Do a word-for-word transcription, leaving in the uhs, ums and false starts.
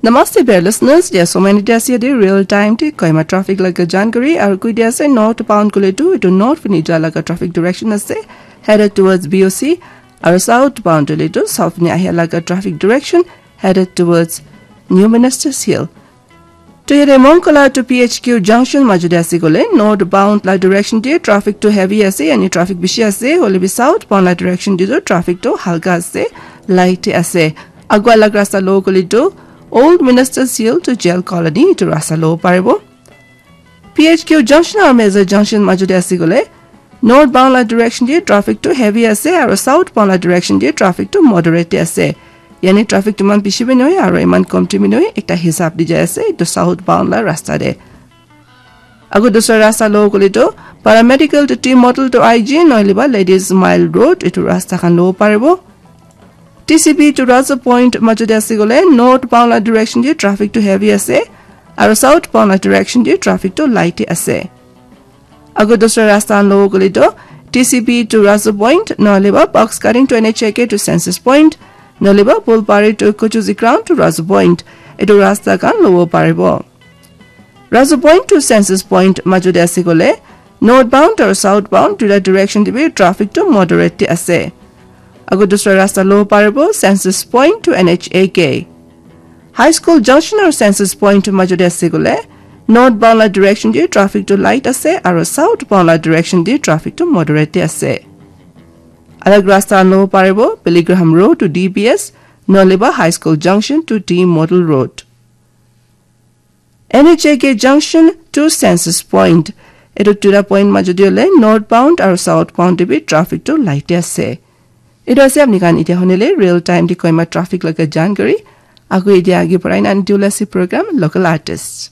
Namaste, dear listeners. Dia somai ni dia ase de real time te Kohima traffic laga jankari aru koi dia ase northbound kole tu etu north fini ja laga traffic direction ase, headed towards B O C, aru southbound kole tu south fini ahia laga traffic direction, headed towards New Ministers Hill. To yate Mongkola to P H Q junction majute ase kole northbound la direction te traffic to heavy ase, yani traffic bishi ase, hoile bi southbound la direction te tu traffic to halka ase, light ase. Agua laga rasta lo kole tu Old Ministers Hill to Jail Colony etu rasta lo paribo. P H Q junction aru Meza junction majute ase kole northbound la direction te traffic to heavy ase aru southbound la direction te traffic to moderate te ase. Yani traffic tu iman bishi bi nohoi aru iman komti bi nohoi, ekta hisab di jai ase etu southbound la rasta te. Ago dusra rasta lo kole tu paramedical to T model to I G nohole ba Ladies Mile Road etu rasta khan lo paribo. T C B to Raza Point majute ase kole northbound la direction te traffic to heavy ase aru southbound la direction te traffic to light ase. Ago dusra rasta lo kole tu T C B to Raza Point nohole ba box cutting to N H A K to Census Point nohole ba Bulpari to Kuchuzi Ground to Raza Point etu rasta khan lo paribo. Raza Point to Census Point majute ase kole northbound aru southbound duita direction te bi traffic to moderate te ase. Ago dusra rasta lo paribo Census Point to N H A K. High School junction aru Census Point majute ase kole northbound la direction te traffic to light ase aru southbound la direction te traffic to moderate te ase. Alag rasta lo paribo Billy Graham Road to D B S nohole ba High School junction to T Model Road. N H A K junction to Census Point etu duita point majute hole northbound aru southbound te bi traffic to light ase. Etu ase apni khan etia honile real time te Kohima traffic laga jankari. Ago etia age parai na ani diula ase program Local Artists.